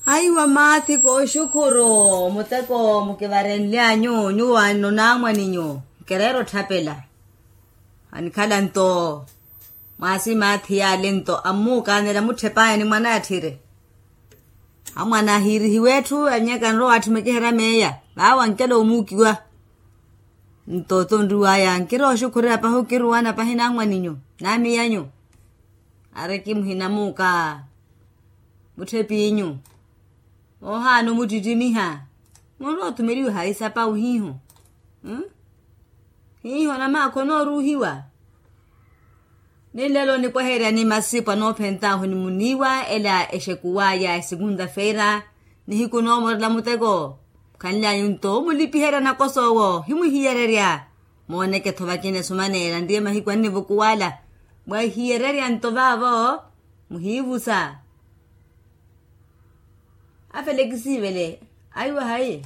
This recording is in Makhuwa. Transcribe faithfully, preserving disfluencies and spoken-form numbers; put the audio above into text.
Aiwa maathi kooxukhuru muteko mukivarenlyanyu nyuwo anno naamwaninyu. Nkireera otthapela anikhala nto mwaasi maathi yaale nto ammukaanela mutthepaya ni mwanatthire. Amwana ahiirihiwa etthu anyaka nrowa atthimekihera meeya vaawo ankela omuukiwa. Nto tonriwaya nkirooxukhurira pahi okiruwana pahi naamwaninyu naamiyanyu. Ariki muhinamuuka mutthepiinyu. Ohaana omuttittimiha munrowa othumeliwa hayi sapa ohiiho. Hiiho namaakha onooruuhiwa. Ni nlelo nipweheryani masipu anoophentaahu ni muniiwa ela exekuwaya esekunta feira. Nihiku noomorela muteko. Khanlyanyu nto omulipiherya nakosa owo himwihiyererya. Mooneke-tho vakina esumaneela nriye mahiku annivukuwala. Mwahiyererya nto vaavo muhiivusa. Afele kisiivele aiwa hayi.